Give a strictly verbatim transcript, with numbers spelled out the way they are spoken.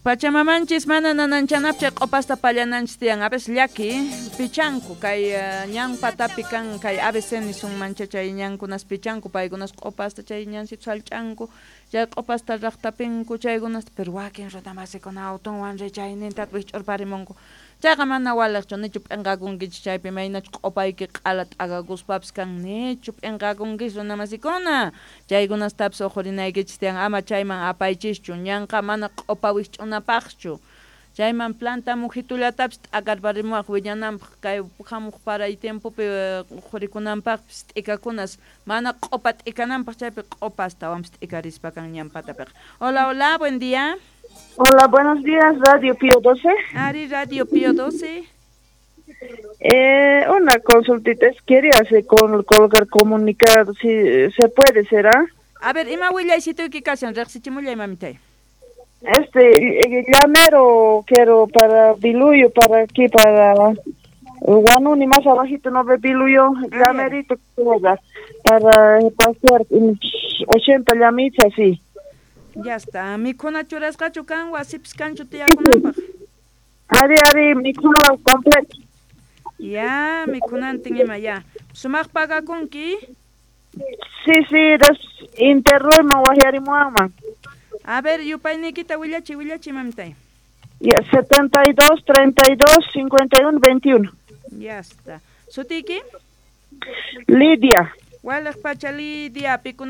Pachamamanchis mana nananchanapaq chay q'upasta pallananchis tiyan. A veces llaki pichanku kay eh, ñan patapi kan kay A B C nisunmancha chay ñankunas pichanku, paykunas q'upasta chay ñansito sallch'anku, chay q'upasta raqtapinku chaykunasta, pero wakin runamasikuna autonwan richayninta wikch'urparimunku. Chayqa mana waliqchu, nichu p'inqakunkichis chaypi maynachu q'upayki q'ala t'akakuspapis kan, nichu p'inqakunkichis, runamasikuna? Chaykunastapis uqhurinaykichis tiyan, ama chayman apaychischu. Ñanqa mana q'upa wikch'unapaqchu. Chayman planta mujitullatapis t'akarparimuwaq wiñananpaq, kay hamuq paray tiempopi uqhurikunanpaqpis t'ikakunas, mana q'upa t'ikananpaq chaypi q'upa astawanpis t'ikarispa kan ñan patapiqa. Hola, hola, buen día. Hola, buenos días, Radio Pío doce. Ari, Radio Pío doce. Eh, una consultita, es quería hacer con, colocar comunicado, si se puede, ¿será? A ver, ima willaysituyki kashan, riqsichimullay, mamitay. Este, eh, llamero quiero para Biluyo, para aquí, para Guanuni, más abajito, no ve Biluyo, llamerito, para pasear ochenta llamitas, sí. Ya está. Mikhuna churasqachu kan, wasipis kanchu tiyakunanpaq? Ari, ari, mikhuna completo. Ya, mikhunantin ima, ya. Sumaq pagakunki? Sí, sí, des interruyman wajyarimuwanman. A ver, yupayniykita willachi, willachi, mamitay. Ya, setenta y dos, treinta y dos, cincuenta y uno, veintiuno. Ya está. ¿Sutiyki? Lidia. Waliq pacha, Lidia, pikunas.